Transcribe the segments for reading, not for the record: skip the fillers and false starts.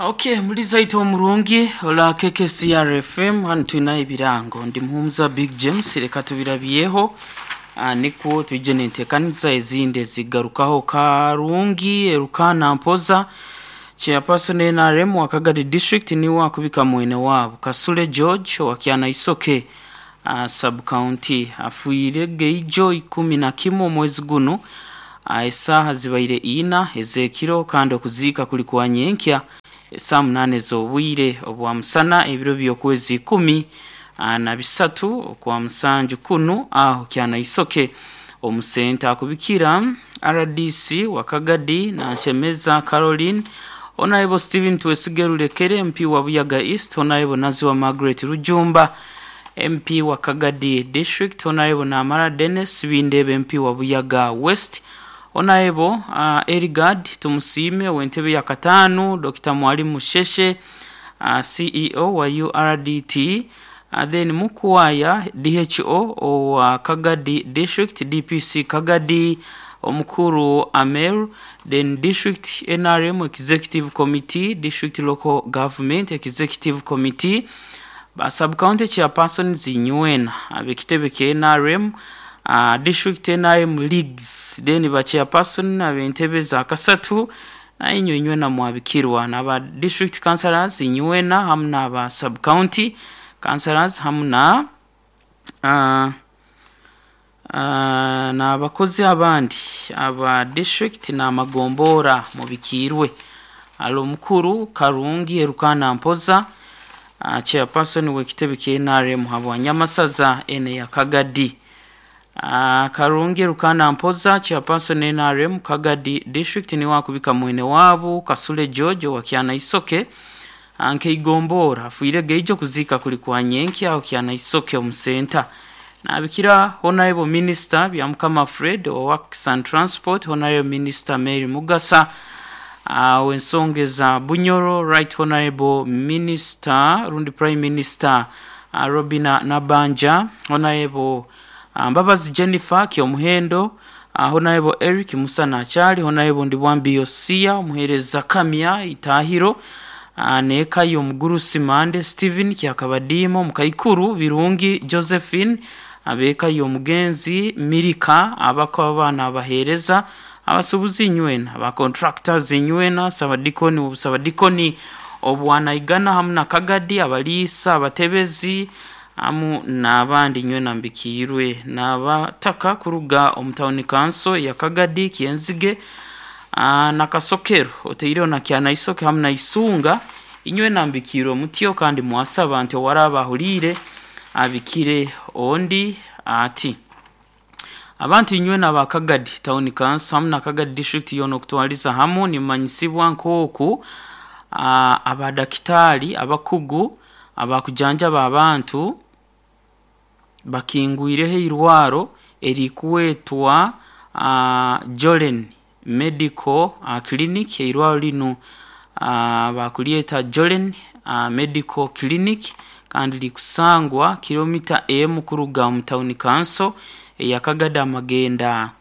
Okay, muliza itwe omurungi ola KKCR FM hano tulina ebirango. Ndi Muhumuza Big James, reka tubirabyeho. Nikwo twije nenteekaniza ezindi ezigarukaho. Karungi Erukana Mpoza, chairperson NRM wa Kagadi District, niwe akubika mwene waabo Kasule George wa Kyana Isoke sub county, afiire geijo 11 omwezi guno, esaaha zibaire 4 ez'ekiro, kandi okuziika kuli kwa nyenkya esaaha 8 ez'obwire obwa musana ebiro by'okwezi 13 okwa musanju kunu aho Kyana Isoke omusenta. Akubikira RDC wa Kagadi Nanshemeza Caroline, Honorable Stephen Twesige Rulekere, MP wa Buyaga East, Honorable Naziwa Margaret Rujumba, MP wa Kagadi District, Honorable Namara Dennis Bindebe, MP wa Buyaga West, Honorable Erigard Tumusiime w'entebe ya katano, Dr. Mwalimu Sheshe, CEO wa URDT, then Mukwaya DHO wa Kagadi District, DPC Kagadi Omukuru Amer, then District NRM Executive Committee, District Local Government Executive Committee, ba sub-county chairpersons inywena ab'ekitebe kya NRM, District NRM Leagues, then ba chairperson ab'entebe za kasatu na inywe inywena mwabikirwa, n'aba district councillors inywena hamu n'aba sub-county councillors hamu na n'abakozi abandi aba district n'amagombora mubikiirwe. Ali omukuru Karungi Erukana Mpoza, chairperson w'ekitebe kya NRM habwa Nyamasaza ene ya Kagadi. Karungi Erukana Mpoza, chairperson NRM Kagadi District, niwe akubika mwene waabo Kasule George wa Kyana Isoke nkeigombora, afiire geijo, kuziika kuli kwa nyenkya aho Kyana Isoke omusenta. Nabikira Honorable Minister Byamukama Fred wa Works and Transport, Honorable Minister Mary Mugasa w'ensonga za Bunyoro, Right Honorable Minister rundi Prime Minister Robina Nabanja, Honorable Mbabazi Jennifer Kyomuhendo, Honorable Eric Musa Nachali, Honorable Ndibwambi Yosia omuheereza Kamya Itahiro, neeka y'omugurusi Mande Stephen Kyakabadiimo, Mukaikuru Birungi Josephine, abeeka y'omugenzi Mirika, abako abaana abaheereza, abasuubuzi inywena, aba contractors inywena, sabadikoni obusabadikoni obwanaigana hamu na Kagadi, abaliisa, abatebezi hamu n'abandi inywena mbikiirwe, n'abataka kuruga omu town council ya Kagadi, Kyenzige na Kasokero, oteireho na Kyana Isoke hamu na Isunga, inywena mbikiirwe mutyo, kandi mwasaba nti owaraba ahuliire abikire ondi ati abantu inywena aba Kagadi Town Council hamu na Kagadi District yoona okutwaliza hamu nimumanyisibwa nk'oku abadakitaali abakugu abakujanjaba abantu bakingwireho eirwaro erikwetwa Jolen Medical Clinic. Eirwaro linu bakulyeta Jolen Medical Clinic, kandi likusangwa kilomita emu kuruga omu town council eya Kagadi amagenda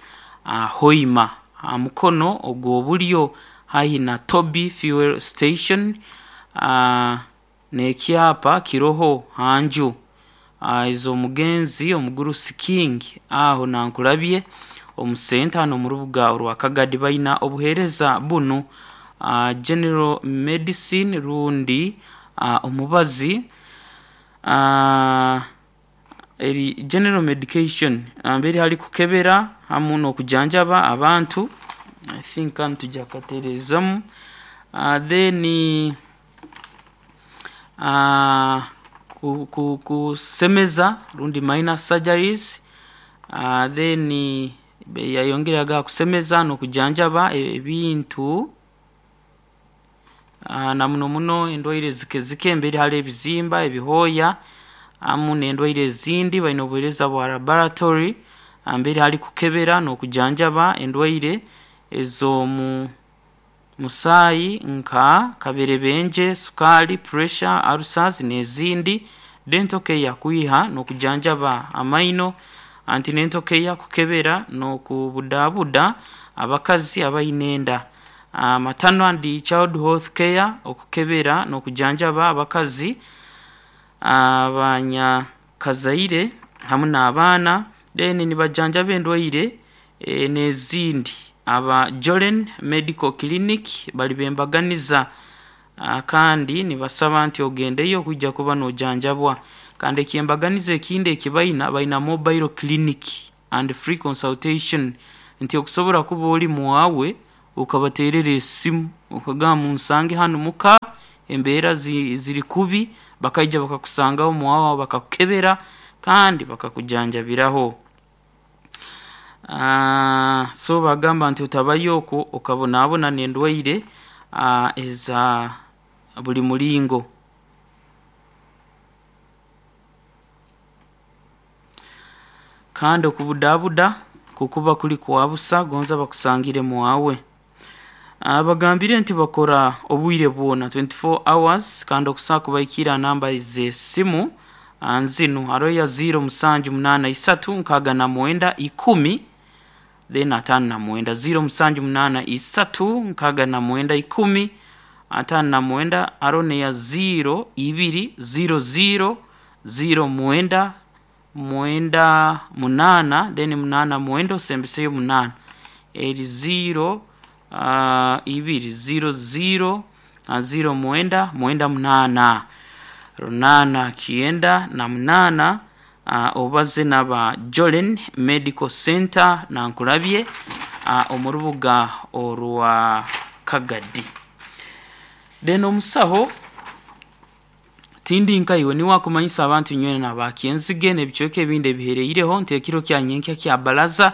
Hoima, ha mukono ogw'obulyo haihi na Toby Fuel Station, n'ekyapa kiroho hanju ez'omugenzi omugurusi King aho nankulabye omusenta hano omu rubuga orwa Kagadi. Baina obuheereza bunu: general medicine rundi omubazi, eri general medication mbere hali kukebera hamu n'okujanjaba abantu. I think hanu tujja kukatereezamu. Then kusemeza rundi minor surgeries, then yayongeraga kusemeza n'okujanjaba ebintu, na muno muno endwaire zike zike mbere hali ebizimba ebihooya hamu n'endwaire ezindi. Baine obuheereza bwa laboratory mbere hali kukebera n'okujanjaba endwaire ez'omu musaayi nka kaberebenje, sukaali, pressure, ulcers n'ezindi, dental care kwiha n'okujanjaba amaino, antenatal care kukebera n'okubudaabuda abakazi abaine enda. Maternal and Child Health Care, okukebera n'okujanjaba abakazi abanyakazaire hamu n'abaana, then nibajanjaba endwaire n'ezindi. Aba Jolen Medical Clinic bali b'embaganiza kandi nibasaba nti ogendeyo kwija kuba nojanjabwa. Kandi ekyembaganiza ekindi eki baina, baina mobile clinic and free consultation nti okusobora kuba ori muwawe okabateerera esimu okagamba munsange hanu muka embeera ziri kubi, bakaija bakakusangaho muwawe bakakukebera kandi bakakujanjabiraho. So bagamba nti otabayo okwo okabonabona n'endwaire eza buli muringo. Kandi okubudabuda kukuba kuri kwa busa gonza bakusangire muwawe. Bagambire nti bakora obwire bwona 24 hours kandi okusobola kubahikiira aha namba z'esimu zinu hariho eya 0 musanju munaana isatu nkaaga na mwenda ikumi then ataano na mwenda, 0 musanju munaana isatu nkaaga na mwenda ikumi ataano na mwenda, hariho n'eya 0 ibiri 0 0 0 mwenda mwenda munaana then munaana mwenda osembeseyo munaana, eri 0 ibiri 0 0 0 mwenda mwenda munaana, runaana kyenda na munaana obaze n'aba Jolen Medical Centre Nankulabye omu rubuga orwa Kagadi. Then omusaho tindi nkaiwe niwe akumanyisa abantu inywena aba Kyenzige n'ebicweka ebindi ebihereireho nti ekiro kya nyenkya kya baraza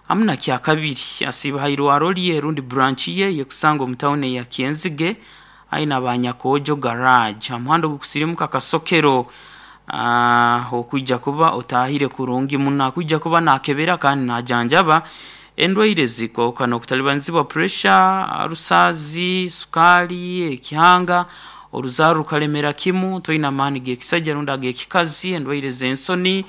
hamu na kyakabiri asiiba ha irwaro rye rundi branch ye eyekusangwa omu tawuni eya Kyenzige haihi na ba Nyakoojo garage ha muhanda ogukusirimuka Kasokero okwija kuba otaahire kurungi muno. Akwija kuba naakebera kandi naajanjaba endwaire ezikooka n'okutalibanizibwa puresha, rusaazi, sukaali, ekihanga, oruzaaro rukalemera kimu, toine amaani g'ekisaija rundi ag'ekikazi, endwaire z'ensoni,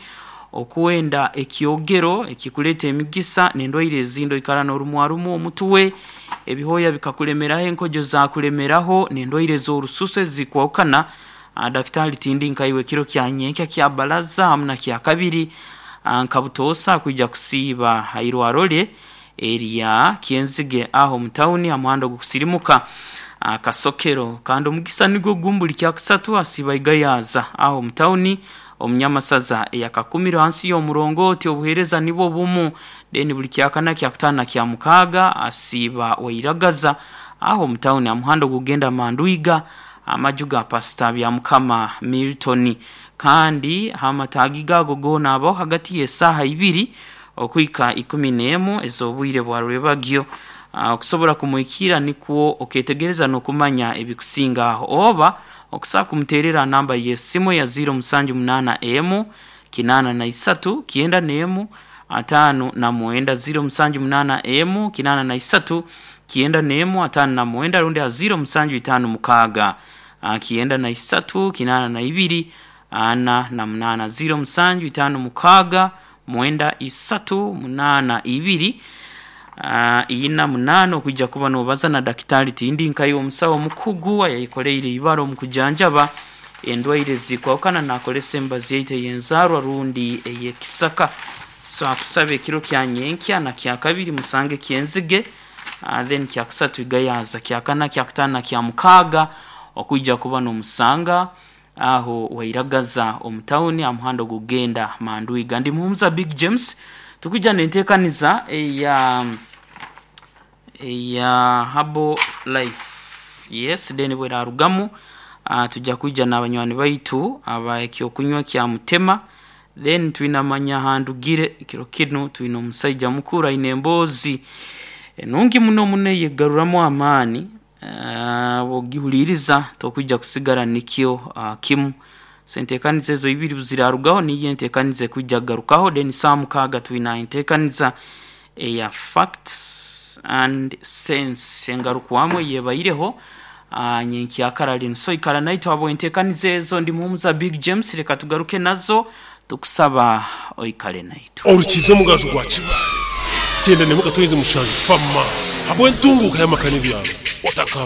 okwenda ekyogero ekikuleeta emigisa n'endwaire ezindi. Oikara n'orumwarumwa omutwe, ebihooya bikakulemeraho, enkojo zaakulemeraho n'endwaire ez'orususu ezikwahukana. Dakitaali tindi nkaiwe ekiro kya nyenkya kya baraza hamu na kyakabiri nka butoosa akwija kusiiba ha irwaro rye erya Kyenzige aho omu tawuni ha muhanda ogukusirimuka Kasokero. Kandi omugisa nigwo gumu buli kyakusatu asiiba Igayaza aho omu tawuni omu Nyamasaza eya Kakumiro hansi y'omurongooti obuheereza nibwo bumu. Then buli kyakana, kyakutaano na kyamukaaga asiiba Wairagaza aho omu tawuni ha muhanda ogukugenda Mandwiga amaju ga Pasita Byamukama Milton. Kandi h'amataagi gaago goona abaho hagati y'esaaha ibiri okuhika ikumi n'emu ez'obwire bwa rwebagyo. Okusobora kumuhikiira nikwo oketegereza n'okumanya ebikusinga aho. Oba okusobola kumuteerera ha namba y'esimu eya ziiro musanju munaana emu, kinaana na isatu, kyenda n'emu, ataano na mwenda, ziiro musanju munaana emu, kinaana na isatu, kyenda n'emu, ataano na mwenda rundi ha ziiro musanju itaano mukaaga, kyenda na isatu, kinaana na ibiri, ana na munaana, ziiro musanju itaano mukaaga, mwenda isatu, munaana ibiri, ina munaana okwija kuba nobaza na dakitaali tindi nkaiwe omusawo omukugu ayayekoleire ibara omu kujanjaba endwaire ezikwahukana nakozesa emibazi yaitu ey'enzaarwa rundi ey'ekisaka. So akusaba ekiro kya nyenkya na kyakabiri musange Kyenzige then kyakusatu Igayaza, kyakana, kyakutaano na kyamukaaga okwija kuba nomusanga aho Wairagaza omu tawuni aha muhanda ogukugenda Mandwiga. Ndi Muhumuza Big James tukwija n'enteekaniza eya eya Herbal Life. Yes, then bwerarugamu tuja kwija n'abanywani baitu aba ekyokunywa kya Mutema then twine amanya handugire kiro kinu twine omusaija mukuru aine emboozi enungi muno muno eyegaruramu amaani bw'ogihuliiriza tokwija kusigara nikyo kimu. So enteekaniza ezo ibiri obu ziraarugaho niyo enteekaniza ekwija kugarukaho then saaha mukaaga twine enteekaniza eya Facts and Sense engarukwamu eyebaireho nyenkyakara linu. So ikara naitwe habw'enteekaniza ezo. Ndi Muhumuza Big James leka tugaruke nazo tukusaba oikale naitwe. Orukiize omugaju gwa Kibaale, kyenda n'emwe katoize mushanju fama habw'entunguuka y'amaka n'ebyaro. Otakarugaho.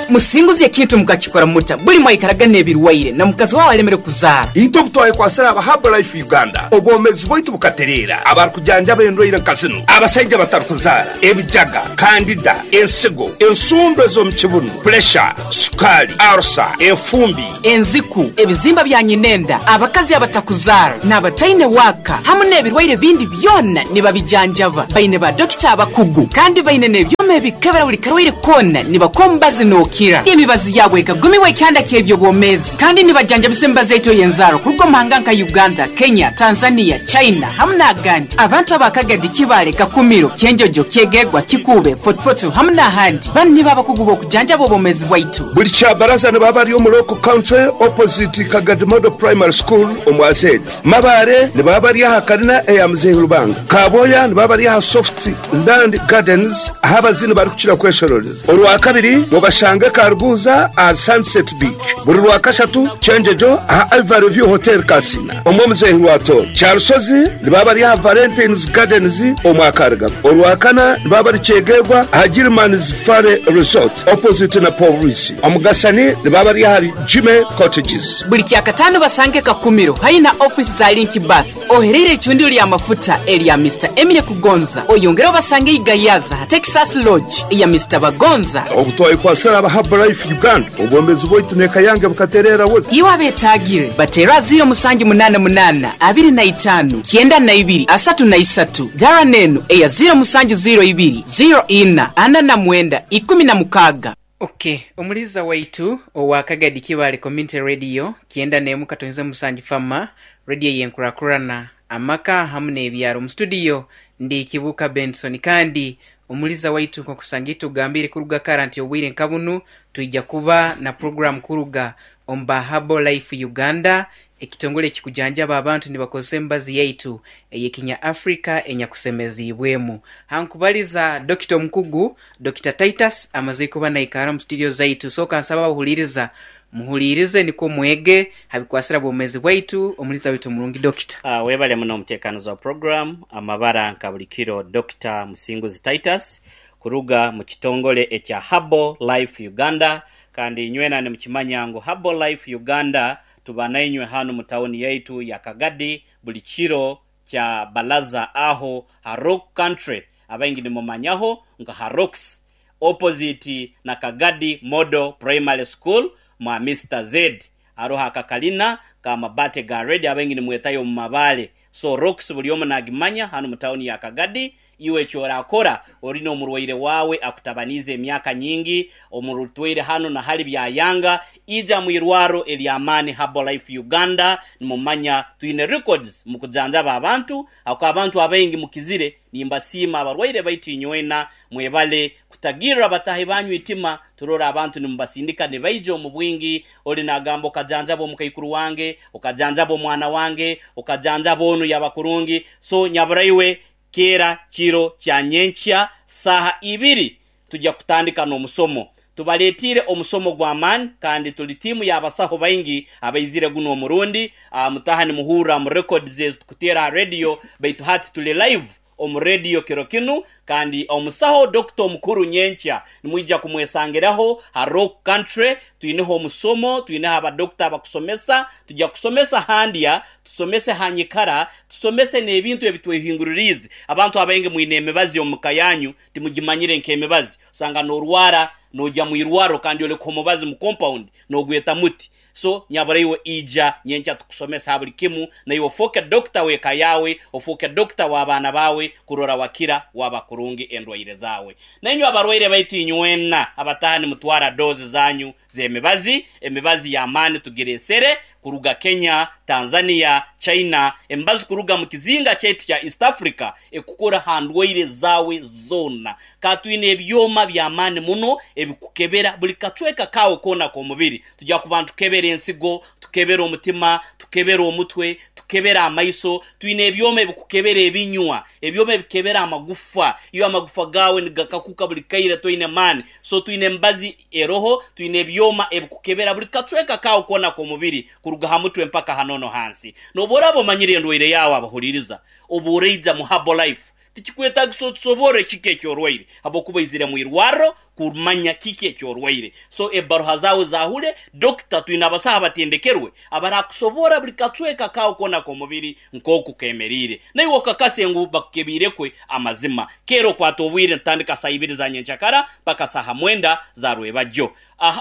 Musinguzi ekintu mukakikora muta buli mwaikaraga n'ebirwaire na mukazi wawe alemere kuzaara? Itwe obu twayekwasire aba Herbalife Uganda, obwomeezi bwaitu bukatereera. Abarukujanjaba endwaire nka zinu, abasaija abatarukuzaara, ebijaga, kandida, ensigo, ensundo ez'omu kibunu, puresha, sukaali, arusa, enfumbi, Enziku, ebizimba bya nyinenda, abakazi abatakuzaara, n'abataine waaka hamu n'ebirwaire bindi byona nibabijanjaba. Baine ba dokita abakugu kandi baine n'ebyoma ebikebera buli karwaire koona nibakuha omubazi nookira. Emibazi yaabo ekagumirwa ekyanda ky'eby'obwomeezi kandi nibajanjabisa emibazi yaitu ey'enzaarwa kuruga omu mahanga nka Uganda, Kenya, Tanzania, China hamu n'agandi. Abantu aba Kagadi, Kibaale, Kakumiro, Kyenjojo, Kyegegwa, Kikuube, Fort Portal hamu n'ahandi. Banu nibo abakugu b'okujanjaba obwomeezi bwaitu. Buli Kyabaraza nibaba bari omu Local Country opposite Kagadi Model Primary School omu Azedi. Mabaare nibaba bari aha kalina eya Muzeeyi Rubanga. Kabwoya nibaba bari aha Soft Land Gardens ahu abazini barikukira kweshororeza. Orwakabiri mubashange Karuguuza ahari Sunset Beach. Buri Rwakashatu Kyenjojo aha Ivory View Hotel Kasina omu Omuzeehi Rwatooro. Kyarushozi nibaba bari aha Valentines Gardens omu Akarigabo. Orwakana nibaba bari Kyegegwa aha Gilman's Valley Resort opposite na Pooriisi. Omugasani nibaba bari ahari Jimmy Cottages. Buli Kyakataano basange Kakumiro haihi na ofiisi za Link Bus ohereire eicundiro ly'amafuta erya Mister Emile Kugonza. Oyongere obasange i Gayaza ha Texas Lodge eya Mister Bagonza. Obu twayekwatsire aba Herbalife Uganda, obwomeezi bwaitu n'eka yange bukatereera busa. Iwe abeetaagire, bateere aha ziiro musanju munaana munaana, abiri na itaano, kyenda na ibiri, asatu na isatu. Dara n'enu eya ziiro musanju ziiro ibiri, ziiro ina, ana na mwenda, ikumi na mukaaga. Ok, omuliiza waitu owa Kagadi Kibaale Community Radio 91 katonze musanju Fama, radio ey'enkurakurana, amaka hamu n'ebyaro. Mu studio ndi Kibuuka Benson kandi omuliiza waitu nk'okusanga itugambiire kuruga kara nti obwire nka bunu twija kuba na program kuruga omu ba Herbal Life Uganda, ekitongole ekikujanjaba abantu nibakozesa emibazi yaitu ey'ekinya Africa enyakusemeziibwemu. Hankubaliza Dokita omukugu Dokita Titus amaze kuba naikara mu studio zaitu. So kansaba abahuliiriza muhuliirize nikwo mwege ha bikwasira bwomezi bwaitu. Omuliiza waitu omurungi Dokita. Webale muno omutekaniza wa program amabara nka buli kiro Dokita Musinguzi Titus kuruga mu kitongole ekya Herbal Life Uganda kandi inywena nimukimanya ngu Herbal Life Uganda tuba nainywe hanu mu tawuni yaitu ya Kagadi buli kiro kya Balaza aho ha Rock Country abaingi nimumanyaho nka ha Rocks opposite na Kagadi Model Primary School mwa Mister Z haroho akakalina ka mabate ga red abaingi nimwetayo omu mabale so Rocks buli omu nagimanya hanu mu town ya Kagadi iwe ekyorakora ori nomurwaire wawe akutabaniize emyaka nyingi omurutwaire hanu na hali byayanga ija mwirwaro elyamani Herbalife Uganda nimumanya twine records mukujanjaba abantu ako abantu abaingi mukizire Nimbasiima abarwaire baitu inywena mwebale kutagirra batahi banyu itima. Turora abantu nimubasindika nibaija omu bwingi, oli nagamba okajanjaba omukaikuru wange, okajanjaba omwana wange, okajanjaba onu yaba kurungi. So nyaburaiwe keera kiro kya nyenkya saaha ibiri tugya kutandika n'omusomo. Tubaletiire omusomo gw'amaani kandi tuli tiimu y'abasaho baingi abaizire guno omurundi. Mutaha nimuhurra mu records ezi tukuteera ha radio baitu hati tuli live omu radio kiro kinu kandi omusaho Dokita omukuru nyenkya nimwija kumwesangiraho ha Rock Country. Twineho omusomo, twineho abadokita abakusomesa. Tugya kusomesa ha ndya, tusomese ha nyikara, tusomese n'ebintu ebitwehinguririize. Abantu abaingi mwine emibazi omu ka yanyu timugimanyire nk'emibazi. Osanga n'orwara noija mu irwarro kandi oleka omubazi mu compound n'ogweta muti. So nyabura iwe ija nyenkya tukusomese ha buli kimu naiwe ofooke doctor w'eka yaawe, ofooke doctor w'abaana baawe kurora wakira waba kurungi endwaire zaawe. Nainywe abarwaire baitu inywena abataha nimutwara dose zanyu z'emibazi, emibazi y'amaani tugiresere kuruga Kenya, Tanzania, China, emibazi kuruga mu kizinga kyaitu kya East Africa ekukora ha ndwaire zaawe zoona. Ka twine ebyoma by'amaani muno ebikukebera buli kacweka kaawe koona k'omubiri. Tugya kuba nitukebera ensigo, tukebere omutima, tukebere omutwe, tukebere amaiso. Twine ebyoma ebikukebera ebinywa, ebyoma ebikebera amagufa. Iwe amagufa gaawe nigakakuka buli kaire toine maani. So twine emibazi eroho, twine ebyoma ebikukebera buli kacweka kaawe koona k'omubiri kuruga ha mutwe mpaka ha nono hansi. N'obu oraaba omanyire endwaire yaawe abahuliriza, obu oraija mu Herbalife. Tikikwetagisa otusoborre kiki ekyorwaire habwokuba oizire mu irwarro kumanya kiki ekyorwaire. So ebbaruha zaawe zaahule, dokita twine abasaho abatendekerwe abarakusoborra buli kacweka kaawe koona ak'omubiri nk'oku kemeriire. Naiwe okakase ngu bakukebiirekwe amazima. Keera okwate obwire nitutandika saaha ibiri za nyenkyakara mpaka saaha mwenda za rwebagyo.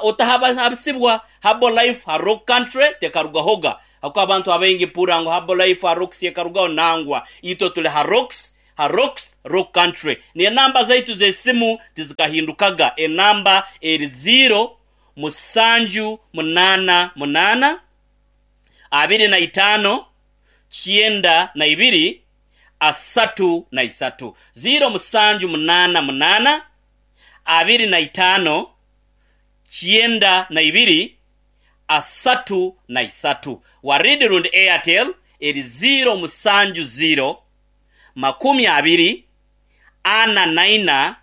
Otahabisibwa Herbal Life ha Rock Country tekarugahoga. Habwokuba abantu abaingi mpurra ngu Herbal Life ha Rocks ekarugaho, nangwa. Itwe tuli ha Rocks, ha Rocks, Rock Country. N'enamba zaitu z'esimu tizikahindukaga. Enamba eri ziiro, musanju, munaana, munaana, 25, 92, 33. Ziiro, musanju, munaana, munaana, 25, 92, 33. Waridi rundi Airtel eri ziiro musanju ziiro 24 4 91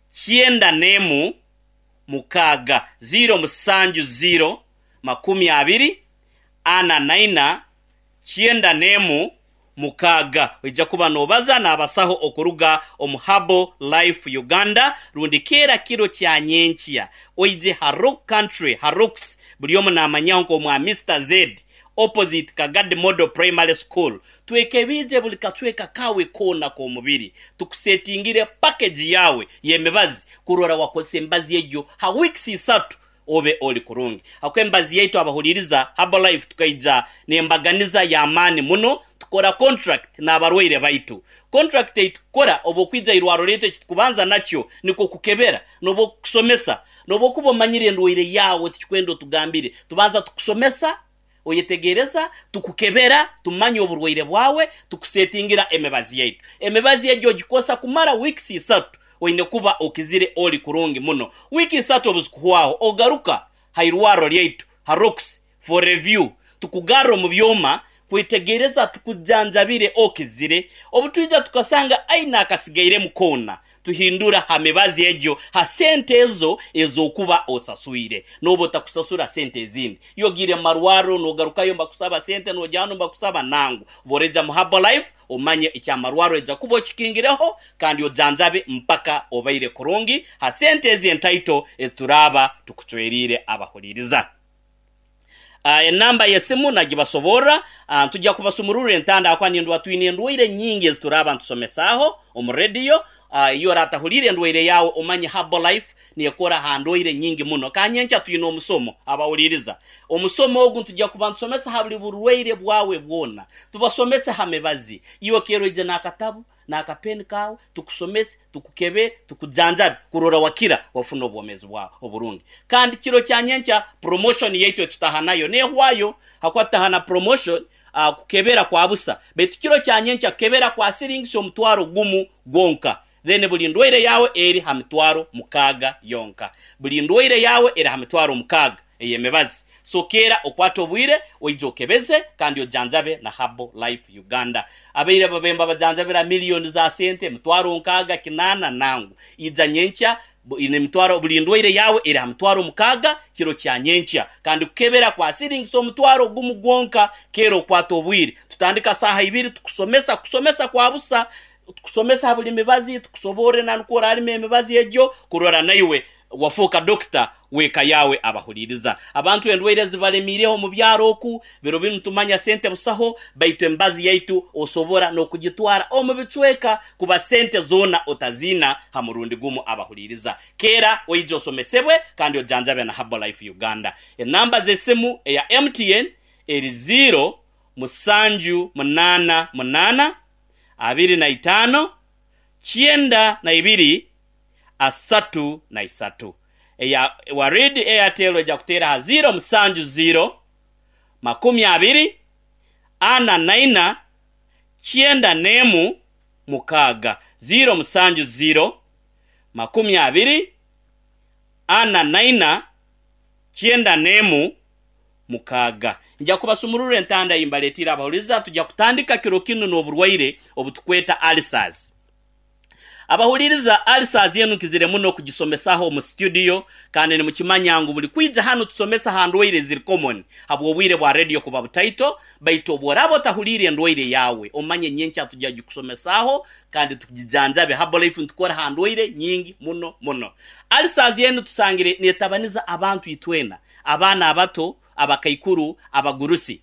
6. 0 7 0 24 4 91 6. Oija kuba noobaza n'abasaho okuruga omu Herbal Life Uganda rundi keera kiro kya nyenkya oije ha Rock Country ha Rocks buli omu namanyaho nk'omwa Mister Z opposite Kagadi Model Primary School twekebiije buli kacweka kawe koona k'omubiri tukusetingire package yawe y'emibazi kurora wakozesa emibazi egyo ha weeks isatu obe oli kurungi. Habwokuba emibazi yaitu abahuliriza Herbalife tukaija n'embaganiza y'amaani muno, tukora contract n'abarwaire baitu. Contract ei tukukora obu okwija irwarro lyaitu eki tukubanza nakyo nikwo kukebera n'obu okukusomesa. N'obu okuba omanyire endwaire yaawe tikikwenda otugambire, tubanza tukusomesa, oyetegereza, tukukebera, tumanya oburwaire bwawe, tukusetingira emibazi yaitu. Emibazi egyo ogikosa kumara weeks isatu, oine kuba okizire oli kurungi muno. Wiiki isatu obuzikuhwaho, ogaruka ha irwarro lyaitu ha Rocks for review, tukugarra omu byoma kwetegereza tukujanjabire okizire. Obutwija tukasanga aine akasigairemu koona, Tuhindura ha mibazi egyo ha sente ezo ez'okuba osaswire. Nooba otakusasura sente ezindi. Iwe ogiire mu marwarro nogarukayo nibakusaba sente, noja hanu nibakusaba, nangwa. Obu oraija mu Herbalife, omanye eky'amarwarro oija kuba okikingireho kandi ojanjabe mpaka obaire kurungi ha sente ezi entaito ezi turaaba tukucweriire abahuliiriza. Enamba y'esimu nagibasoborra. Ntujja kubasumururra entanda ahakuba nindwa twine endwaire nyingi ezi turaaba ntusomesaaho omu rediyo. Iwe oratahuliire endwaire yaawe omanye Herbalife nekora ha ndwaire nyingi muno. Ka nyenkya twine omusomo abahuliiriza. Omusomo ogu ntujja kuba ntusomesa ha buli burwaire bwawe bwona. Tubasomese ha mibazi. Iwe keera oije n'akatabu n'akapeni kaawe, tukusomese, tukukebere, tukujanjabe kurora wakira wafuna obwomeezi bwawe oburungi. Kandi kiro kya nyenkya promotion yaitu etutaha nayo nehwayo hakuba tutaha na promotion kukebera kwa busa baitu kiro kya nyenkya kukebera kwa siringisi 10,000 gwonka then buli ndwaire yawe eri ha 60,000 yonka. Buli ndwaire yawe eri ha 60,000. Ey'emibazi. So keera okwate obwire oije okebeze kandi ojanjabe na Herbal Life Uganda. Abaire babemba bajanjabira million za sente, 60,000, 800 nangwa. Ija nyenkya nemitwaro buli ndwaire yaawe eri ha 60,000 kiro kya nyenkya. Kandi kukebera kwa siringisa 10,000 gwonka. Keera okwate obwire. Tutandika saaha ibiri tukusomesa, kusomesa kwa busa. Tukusomesa ha buli mibazi, tukusoborre na nukwo oralima emibazi egyo kurora naiwe Wafooka dokita w'eka yaawe abahuliiriza. Abantu endwaire zibalemiireho omu byaro oku, biro binu tumanya sente busaho, baitu emibazi yaitu osobora n'okugitwara omu bicweka kuba sente zoona otaziina ha murundi gumu abahuliiriza. Keera oije osomesebwe kandi ojanjabe na Herbalife Uganda. Enamba z'esimu eya MTN eri ziiro musanju munaana munaana, 25, 92, 33. Eya Warid Airtel eja kuteera ha ziiro musanju ziiro, 24, 44, 96. Ziiro musanju ziiro, 24, 44, 96. Nja kubasumururra entanda ei mbaleetiire abahuliriza. Tujja kutandika kiro kinu n'oburwaire obutukweta ulcers. Abahuliriza, ulcers enu nkizire muno kugisomesaho omu studio kandi nimukimanya ngu buli kwija hanu tusomesa ha ndwaire eziri common habw'obwire bwa radio kuba butaito, baitu obworaaba otahuliire endwaire yaawe omanye nyenkya tujja kugikusomesaaho kandi tugijanjabe. Herbalife nitukora ha ndwaire nyingi muno muno. Ulcers enu tusangire netabaniza abantu itwena, abaana abato, abakaikuru, abagurusi.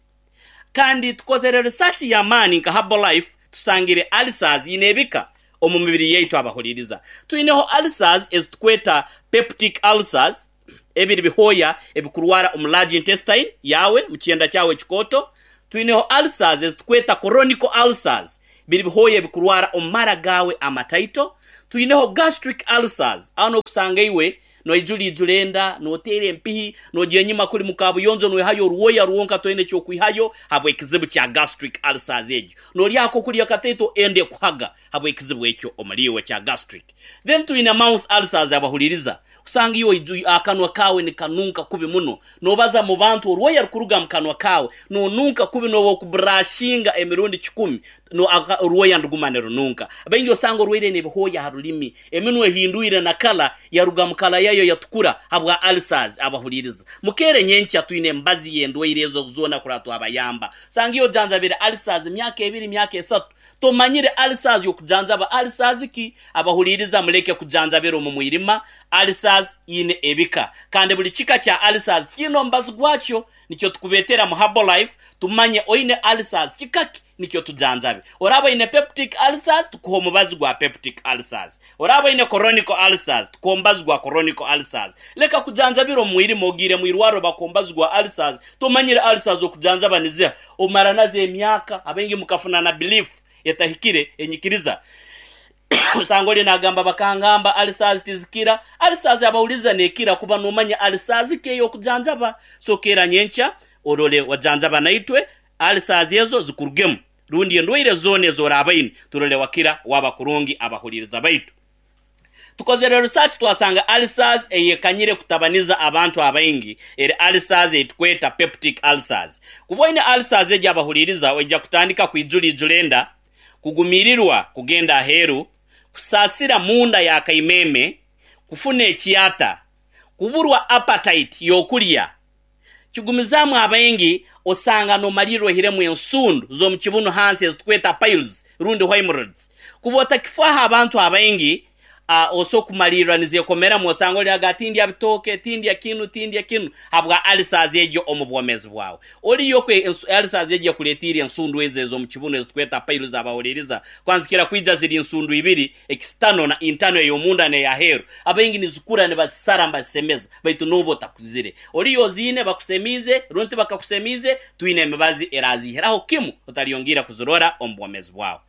Kandi tukozere research y'amaani nka Herbalife tusangire ulcers ine ebika omu mibiri yaitu abahuliriza. Twineho ulcers ezitukweta peptic ulcers, ebiri bihooya ebikurwara omu large intestine yaawe, mu kyenda kyawe ekikooto. Twineho ulcers ezitukweta chronic ulcers, biri bihooya ebikurwara omu mara gaawe amataito. Twineho gastric ulcers, aho nokusanga iwe Noijura ijura enda, noteera empihi, nogya enyima kuli mu kabuyonjo noihayo orwoya rwonka toine eky'okwihayo habw'ekizibu kya gastric ulcers egyo. Nolya akokulya kataito enda ekuhaga habw'ekizibu ekyo omuli iwe ekya gastric. Then twine mouth ulcers abahuliriza, osanga iwe akanwa kaawe nikanunka kubi muno, nobaza mu bantu orwoya rukuruga mu kanwa kaawe, nonunka kubi nobu okubrashinga emirundi kikumi orwoya niruguma nirununka. Baingi osanga orwaire n'ebihooya ha rulimi, Eminwa ehindwire na kala yaruga mu kala yayo yatukura habwa ulcers. Abahuliriza mukeere nyenkya twine embazi y'endwaire ezo zoona kurora twabayamba. Osanga iwe ojanjabire ulcers myaka ebiri myaka esatu tomanyire ulcers y'okujanjaba ulcers ki? Abahuliriza muleke kujanjabira omu mwirima. Ulcers ine ebika kandi buli kika kya ulcers kiine omubazi gwakyo. Nikyo tukubetera mu Herbalife tumanye oine ulcers kika ki nikyo tujanjabe. Oraaba oine peptic ulcers tukuhe omubazi gwa peptic ulcers. Oraaba oine chronic ulcers tukuhe omubazi gwa chronic ulcers. Leka kujanjabira omu mwirima ogiire mu irwarro bakuha omubazi gwa ulcers tomanyire ulcers okujanjaba niziha omara nazo emyaka. Abaingi mukafuna na belief etahikire enyikiriza. Osanga ori nagamba bakangamba ulcers tizikira. Ulcers abahuriza nekira kuba nomanya ulcers ki eyokujanjaba. So keera nyenkya orole wajanjaba naitwe ulcers ezo zikurugemu rundi endwaire zoona ezorabaine turole wakira waba kurungi abahuririza baitu. Tukozere research twasanga ulcers eyekanyire kutabaniza abantu abaingi eri ulcers eyitukweta peptic ulcers. Kuba oine ulcers egyo abahuririza oija kutandika kwijura ijura enda, kugumirirwa kugenda aheeru, kusaasira munda ya kaimeeme, kufuna ekyata, kuburwa appetite y'okulya. Kigumizaamu abaingi osanga nomalirra oihiremu ensundu z'omu kibunu hansi ezitukweta piles rundi hemorrhoids. Kuba otakifaaho abantu abaingi Oso kumalirra nizekomeramu osanga oli aga tindya bitooke, tindya kinu, tindya kinu habwa ulcers egyo omu bwomeezi bwawe. Oliyo kwe ulcers egyo ekuletiire ensundu ezo ez'omu kibunu ezitukweta piles abahuliriza kwanzikira kwija ziri nsundu ibiri, external na internal ey'omunda n'eyaheeru. Abaingi nizikura nibazisara nibazisemeza baitu nooba otakuzire. Oliyo oziine bakusemiize rundi tibakakusemiize, twine emibazi eraziihiraho kimu otalyongiira kuzirora omu bwomeezi bwawe.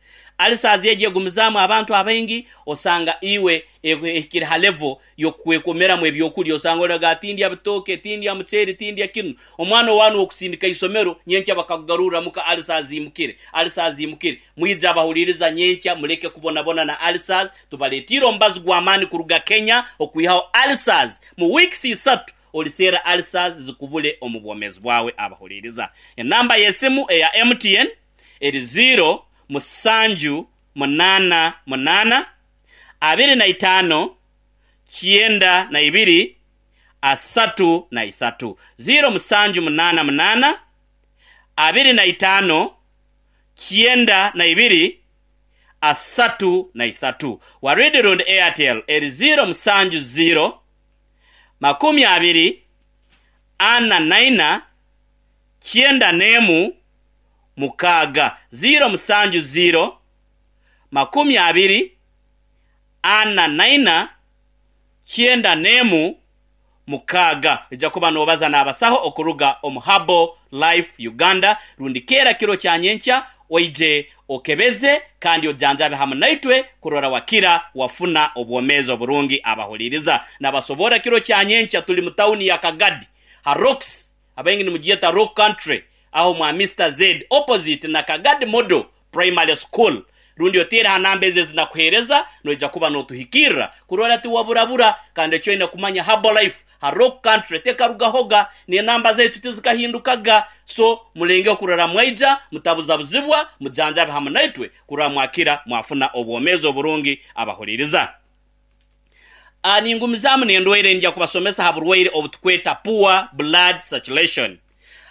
Ulcers egyo egumizaamu abantu abaingi osanga iwe ehikire ha level y'okwekomeramu ebyokulya osanga oraga tindya bitooke, tindya muceeri, tindya kinu. Omwana owaanu ow'okusindika isomero nyenkya bakakugarurra muka ulcers imukire, ulcers imukire. Mwije abahuliriza nyenkya muleke kubonabona na ulcers, tubaletiire omubazi gw'amaani kuruga Kenya okwihaho ulcers mu weeks isatu oliseera ulcers zikubule omu bwomeezi bwawe abahuliriza. Enamba y'esimu eya MTN. eri ziiro musanju munaana munaana, 25, 92, 33. Ziiro musanju munaana munaana, 25, 92, 33. Waridi rundi Airtel eri ziiro musanju ziiro, 20, 44, 91, mukaaga, ziiro musanju ziiro, 24, 96. Oija kuba noobaza n'abasaho okuruga omu Herbal Life Uganda rundi keera kiro kya nyenkya oije okebeze kandi ojanjabe hamu naitwe kurora wakira wafuna obwomeezi oburungi. Abahuliriza nabasoborra kiro kya nyenkya tuli mu tawuni ya Kagadi ha Rocks Abaingi nimugyeta Rock Country aho mwa Mister Zed opposite na Kagadi Model Primary School. Rundi oteere ha namba ezi ezinakuheereza, noija kuba notuhikirra kurora tiwaburabura. Kandi eki oine kumanya, Herbalife ha Rock Country tekarugahoga, n'enamba zaitu tizikahindukaga. So mulengeho kurora mwaija, mutabuzabuzibwa, mujanjabe hamu naitwe kurora mwakira mwafuna obwomeezi oburungi. Abahuliriza. Ningumizaamu n'endwaire, nija kubasomesa ha burwaire obutukweta poor blood circulation.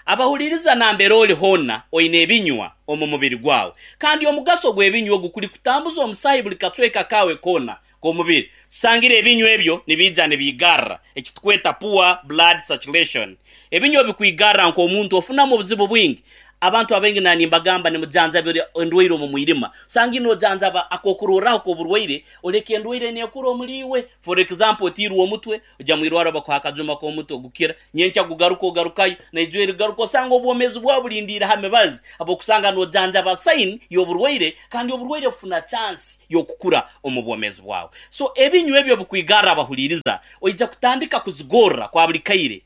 Abahuliriza, nambere oli hoona oine ebinywa omu mubiri gwawe, kandi omugaso gw'ebinywa ogu kuli kutambuza omusaahi buli kacweka kaawe koona k'omubiri. Tusangire ebinywa ebyo nibiija nibiigarra, eki tukweta poor blood circulation. Ebinywa bikwigarra nk'omuntu ofunamu obuzibu bwingi. Abantu abaingi na nimbagamba nimujanjabira endwaire omu mwirima. Osanga nojanjaba akokurorraho k'oburwaire, oleka endwaire nekura omuli iwe. For example, otiirwe omutwe, ojya mwirwarro bakuha akajuma k'omutwe gukira, nyenkya gugaruka ogarukayo, naija erigaruka, osanga obwomeezi bwawe bulindiire ha mibazi habw'okusanga nojanjaba sign y'oburwaire, kandi oburwaire bufuna chance y'okukura omu bwomeezi bwawe. So ebinywa ebyo bikwigarra abahuliiriza, oija kutandika kuzigorra kwa buli kaire,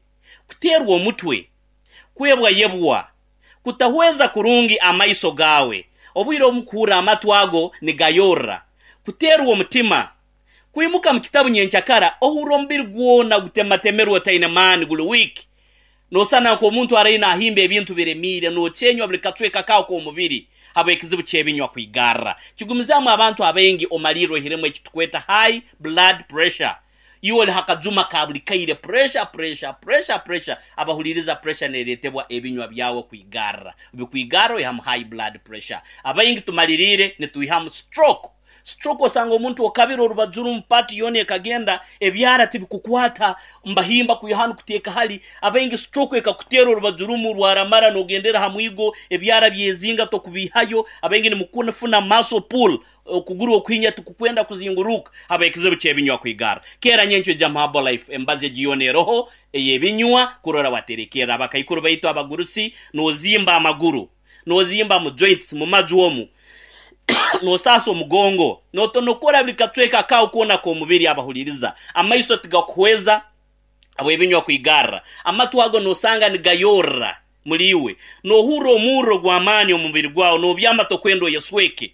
kuteerwa omutwe, kwebwayebwa, kutahweza kurungi amaiso gaawe, obwire obumu kuhurra amatu ago nigayorra, kuteerwa omutima, kwimuka mu kitabu nyenkyakara ohurra omubiri gwona gutematemerwe otaine maani, guli weak, nosana nk'omuntu araire nahimba ebintu biremiire, nokyenywa buli kacweka kaawe k'omubiri habw'ekizibu ky'ebinywa kwigarra. Kigumizaamu abantu abaingi omalirra oihiremu eki tukweta high blood pressure. Iwe oli ha kajuma ka buli kaire, pressure, pressure, pressure, pressure. Abahuliriza, pressure neretebwa ebinywa byawe kwigarra. Bikwigarra oihamu high blood pressure. Abaingi tumaliriire nitwihamu stroke. Stroke osanga omuntu okabire orubaju rumu, part yoona ekagenda, ebyara tibikukwata, mbahimba kwiha hanu kuteeka hali. Abaingi stroke ekakuteera orubaju rumu rwaramara nogendera ha mwigo, ebyara byezinga tokubiihayo. Abaingi nimukufuna muscle pull, okuguru okuhinya tikukwenda kuzinguruka habw'ekizibu ky'ebinywa kwigarra. Keera nyenkyo ija mu Herbalife, emibazi egi yoona eroho ey'ebinywa kurora waterekerra abakaikuru baitu abagurusi, nozimba amaguru, nozimba mu joints, mu maju omu, nosaasa omugongo, notonokora buli kacweka kaawe koona k'omubiri. Abahuliriza, amaiso tigakuhweza habw'ebinywa kwigarra, amatu ago nosanga nigayorra muli iwe, nohurra omurro gw'amaani omu mubiri gwawe, nobyama tokwenda oyesweke,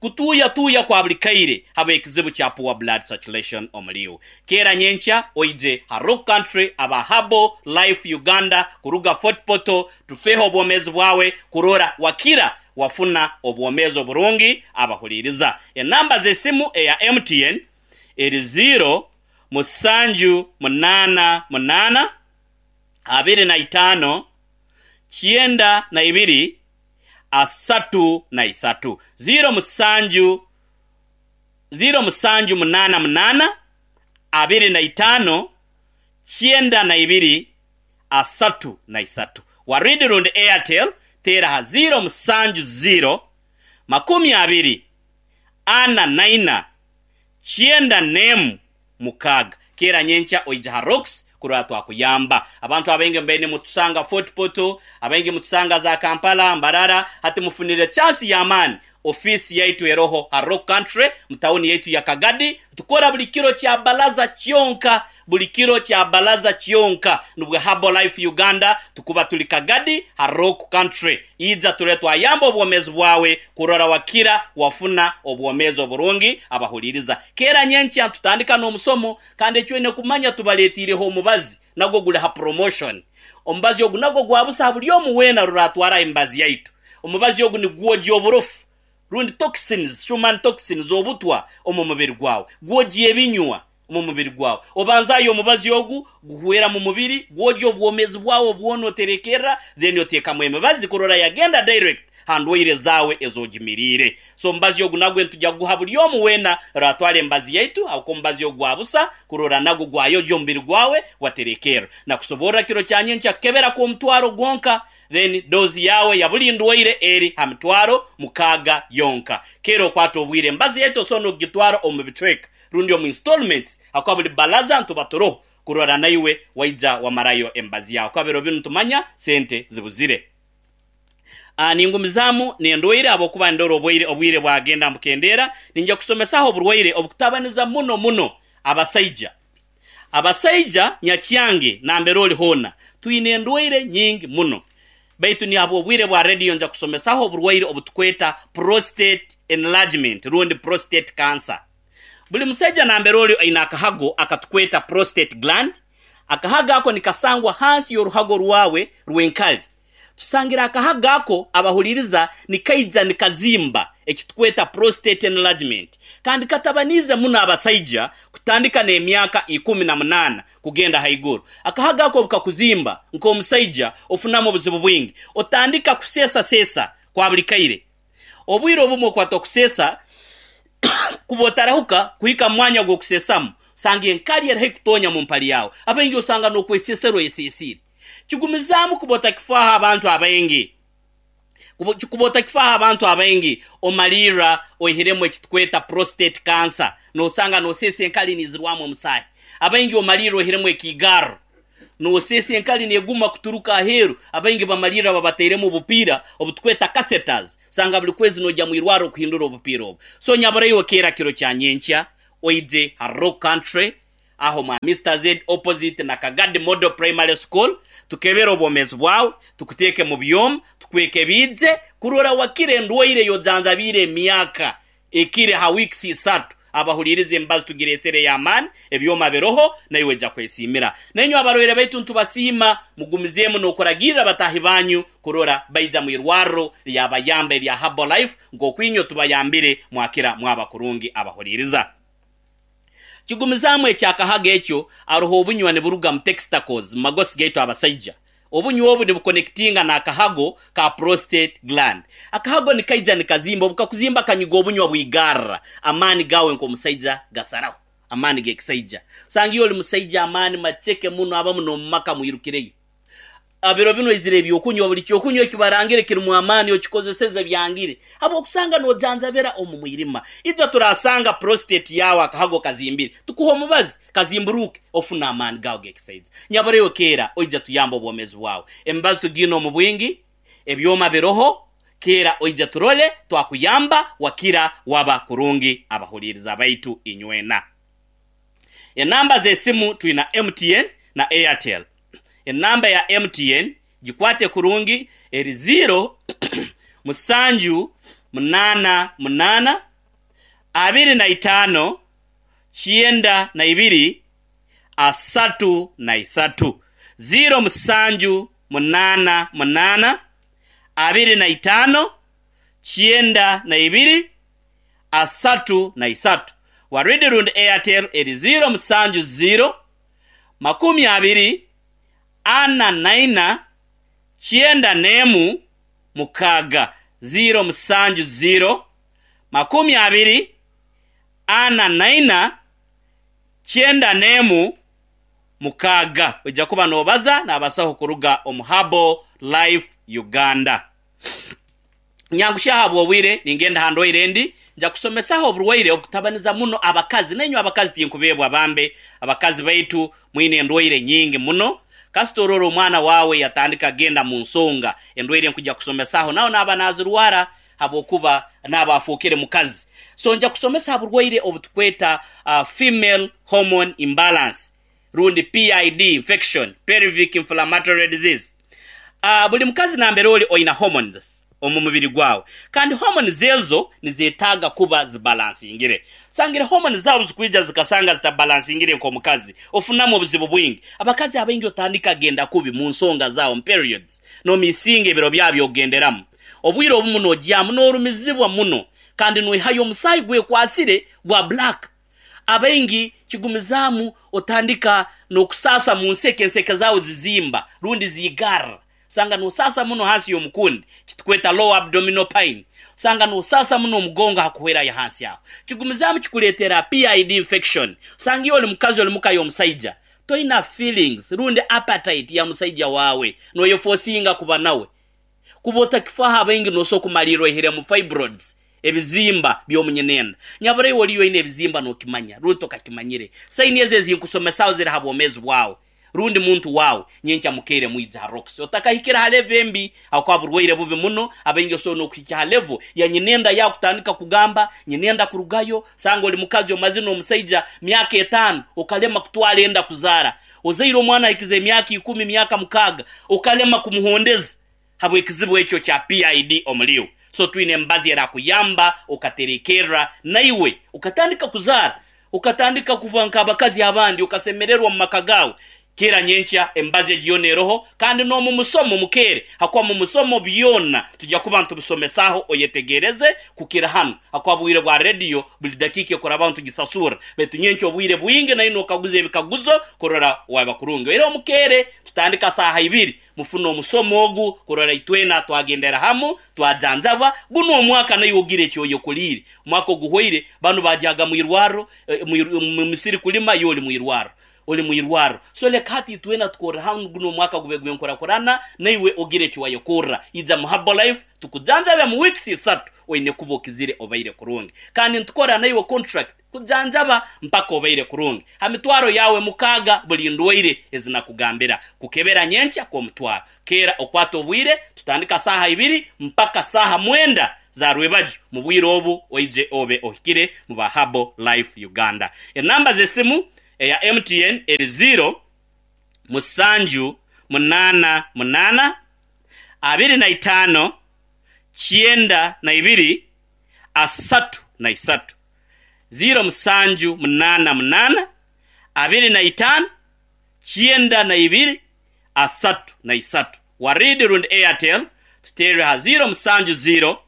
kutuuyatuuya kwa buli kaire habw'ekizibu kya poor blood circulation omuli iwe. Keera nyenkya oije ha Rock Country aba Herbal Life Uganda kuruga Fort Portal tufeho obwomeezi bwawe kurora wakira wafuna obwomeezi oburungi. Abahuliiriza, enamba z'esimu eya MTN eri ziiro musanju munaana munaana 25 92 33. Ziiro musanju, ziiro musanju munaana munaana, 25 92 33. Waridi rundi Airtel teera ha ziiro musanju ziiro, 20 44 96. Keera nyenkya oije ha Rocks kurora twakuyamba. Abantu abaingi mubaire nimutusanga Fort Portal, abaingi mutusanga za Kampala, Mbarara, hati mufunire chance y'amaani. Ofiisi yaitu eroho ha Rock Country mu tawuni yaitu ya Kagadi. Tukora buli kiro kya balaza kyonka, buli kiro kya balaza kyonka. Nubwo Herbal Life Uganda tukuba tuli Kagadi ha Rock Country. Ija turole twayamba obwomeezi bwawe kurora wakira wafuna obwomeezi oburungi. Abahuliriza, keera nyenkya ntutandika n'omusomo, kandi eki oine kumanya tubaletiireho omubazi nagwo guli ha promotion. Omubazi ogu nagwo gwa busa ha buli omu weena ruratwara emibazi yaitu. Omubazi ogu nigwogya oburofu rundi toxins, human toxins, obutwa omu mubiri gwawe. Gwogya ebinywa omu mubiri gwawe. Obanzaayo omubazi ogu guhwera mu mubiri, gwogya obwomeezi bwawe bwona oterekerra, then oteekamu emibazi kurora yagenda direct ha ndwaire zaawe ez'ogimiriire. So omubazi ogu nagwo nitugya kuguha buli omu weena ratwara emibazi yaitu habwokuba omubazi ogu gwa busa kurora nagwo gwayogya omubiri gwawe gwaterekerra. Nakusoborra kiro kya nyenkya kukebera kw'omutwaro gwonka then dose yaawe ya buli ndwaire eri ha 60,000 yonka. Keera okwate obwire emibazi yaitu osobola n'okugitwara omu bicweka rundi omu installments habwokuba buli balaza nituba turoho kurora naiwe waija wamarayo emibazi yaawe habwokuba biro binu nitumanya sente zibuzire. Ningumizaamu n'endwaire habwokuba ndora obwaire obwire bwagenda mbukendeera. Ninja kusomesaho oburwaire obukutabaniza muno muno abasaija. Abasaija nyakyange nambere oli hoona twine endwaire nyingi muno. Baitu ni habw'obwire bwa rediyo nja kusomesaho oburwaire obutukweta prostate enlargement rundi prostate cancer. Buli musaija nambere oli aine akahago akatukweta prostate gland. Akahago ako nikasangwa hansi y'oruhago rwawe rw'enkali. Tusangire akahago ako abahuliriza nikaija nikazimba ekitukweta prostate enlargement kandi katabaniize muno abasaija kutandika n'emyaka 18 kugenda haiguru. Akahago ako obu kakuzimba nk'omusaija ofunamu obuzibu bwingi. Otandika kuseesaseesa kwa buli kaire. Obwire obumu okwata okuseesa kuba otarahuka kuhika mu mwanya gw'okuseesamu osanga enkali eri haihi kutonya mu mpali yaawe. Abaingi osanga n'okweseesera oyeseesiire. Kigumizaamu kuba otakifaaho abantu abaingi. Kuba otakifaaho abantu abaingi omalirra oihiremu ekitukweta prostate cancer nosanga noseesa enkali nizirwamu omusaahi. Abaingi omalirra oihiremu ekiigarro noseesa enkali neguma kuturuka aheeru. Abaingi bamalirra babatairemu obupiira obutukweta catheters osanga buli kwezi nojya mu irwarro kuhindura obupiira obu. So nyaburaiwe keera kiro kya nyenkya oije ha Rock Country aho mwa Mister Z opposite na Kagadi Model Primary School tukebere obwomezi bwawe, tukuteeke mu byoma, tukwekebiije kurora wakire endwaire ey'ojanjabiire emyaka ekire ha weeks isatu. Abahuliiriza emibazi tugireesere ey'amaani, ebyoma biroho, naiwe oija kwesiimira. Nainywe abarwaire baitu nitubasiima, mugumizeemu n'okuragirra bataahi banyu kurora baija mu irwarro lyabayamba erya Herbalife nk'oku inywe tubayambire mwakira mwaba kurungi abahuliiriza. Kigumizaamu eky'akahago ekyo, aroho obunywa niburuga mu textacles mu magosi gaitu abasaija. Obunywa obu nibukonekitinga n'akahago ka prostate gland. Akahago nikaija nikazimba, obu kakuzimba kanyuga obunywa bwigarra, amaani gaawe nk'omusaija gasaraho, amaani g'ekisaija. Osanga iwe oli musaija amaani maceke muno abamu n'omu maka mwirukireyo. Biro binu oizire eby'okunywa, buli ky'okunywa eki barangire kirimu amaani okikozeseze byangire habw'okusanga nojanjabira omu mwirima. Ija turasanga prostate yaawe akahago kazimbire, tukuhe omubazi kazimburuuke ofune amaani gaawe g'ekisaija. Nyabura iwe keera oija tuyambe obwomeezi bwawe. Emibazi tugiine omu bwingi, ebyoma biroho, keera oija turole twakuyamba wakira waba kurungi abahuliiriza baitu inywena. Enamba z'esimu twina MTN na Airtel. Enamba ya MTN gikwate kurungi eri ziiro musanju munaana munaana abiri na itaano kyenda na ibiri asatu na isatu. Ziiro musanju munaana munaana abiri na itaano kyenda na ibiri 33. Waridi rundi Airtel eri 0 7 0 20 44 91 6 0 7 0 20 44 91 6. Oija kuba noobaza n'abasaho kuruga omu Herbal Life Uganda. Nyangushya ahabw'obwire, ningenda ha ndwaire endi. Nja kusomesaho oburwaire obukutabaniza muno abakazi. Nainywe abakazi tinkubeebwa bambe, abakazi baitu mwine endwaire nyingi muno. Kasita orora omwana waawe yatandika kugenda mu nsonga, endwaire nkuja kusomesaho nawe naaba nazirwara habwokuba naaba afookere mukazi. So nja kusomesa ha burwaire obutukweta female hormone imbalance rundi PID infection, pelvic inflammatory disease. Buli mukazi nambere oli oina hormones omu mubiri gwawe kandi hormones ezo nizetaaga kuba zibalansingire. Sangire hormones zawe obuzikwija zikasanga zitabalansingire nk'omukazi ofunamu obuzibu bwingi. Abakazi abaingi otandika genda kubi mu nsonga zawe mu periods nomisinga ebiro byawe by'okugenderamu. Obwire obumu nogyamu norumizibwa muno kandi noihayo omusaayi gwekwasire gwa black. Abaingi kigumizaamu otandika n'okusaasa mu nseke, enseke zaawe zizimba rundi ziigarra. Osanga n'osaasa muno hansi y'omukundi, kitukweta lower abdominal pain. Osanga n'osaasa muno omugongo hakuhwerayo hansi aho. Kigumizaamu kikuleetera PID infection. Osanga iwe oli mukazi oli muka y'omusaija, toina feelings rundi appetite ya musaija waawe, noyefosinga kuba nawe. Kuba otakifaho abaingi nosobola kumalirra oihiremu fibroids, ebizimba by'omu nyinenda. Nyabura iwe oliyo oine ebizimba nokimanya rundi tokakimanyire. Saini ezo ezinkusomesaho ziri ha bwomeezi bwawe rundi muntu wawe. Nyenkya mukeire mwije ha Roxy. Otakahikire ha level embi habwokuba burwaire bubi muno. Abaingi osobola n'okuhikya ha level ya nyinenda yawe kutandika kugamba nyinenda kurugayo. Sanga oli mukazi omazire n'omusaija myaka etaano okalema kutwara enda kuzaara. Ozaire omwana ahikize emyaka ikumi, myaka mukaaga okalema kumuhondeza. Habw'ekizibu ekyo kya PID omuli iwe. So twine emibazi erakuyamba okaterekerra naiwe okatandika kuzaara, okatandika kuba nk'abakazi abandi, okasemererwa omu maka gaawe. Kera nyenkya emibazi egi yoona eroho kandi n'omu musomo mukeere hakuba mu musomo byona tujya kuba nitubisomesaaho oyetegereze kukira hanu hakuba bwire bwa rediyo buli dakiika ekurabaho nitugisasurra baitu nyenkya obwire bwingi nayo nokaguza ebikaguzo kurora waba kurungi era omukeere tutandika saaha ibiri Mufune omusomo ogu kurora itwena twagendera hamu, twajanjabwa. Gunu omwaka naiwe ogire eki oyekoliire. Omwaka oguhwaire banu bagyaga mu irwarro, mu misiri kulima, iwe oli mu irwarro. Oli mu irwarro. So leka hati itwena tukorre hamu gunu omwaka gube gw'enkurakurana, naiwe ogire eki wayekorra. Ija mu Herbalife tukujanjabe mu weeks isatu oine kuba okizire obaire kurungi. Kandi nitukora naiwe contract. Kujanjaba mpaka obaire kurungi. Ha mitwaro yaawe mukaaga buli ndwaire ezi nakugambira. Kukebera nyenkya kw'omutwaro. Keera okwate obwire, tutandika saaha ibiri mpaka saaha mwenda za rwebagyo. Mu bwire obu oije obe ohikire mu ba Herbal Life Uganda. Enamba z'esimu eya MTN eri ziiro, musanju, munaana, munaana, abiri na itaano, kyenda na ibiri, asatu na isatu. Ziiro musanju munaana munaana, 25, 92, 33. Warid rundi Airtel tuteerere ha ziiro musanju ziiro,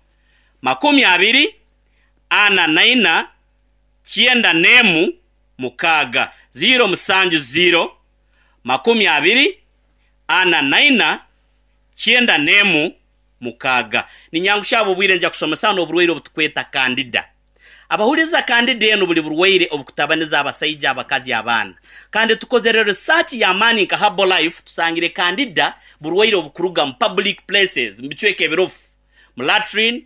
20, 44, 91, 6. Ziiro musanju ziiro, 20, 44, 91, 6. Ninyangushya habw'obwire nja kusomesa hanu oburwaire obutukweta Candida. Abahuliiriza Candida enu buli burwaire obukutabaniza abasaija, abakazi, abaana. Kandi tukozere research y'amaani nka Herbalife tusangire Candida burwaire obukuruga mu public places, mu bicweka ebirofu, mu latrine,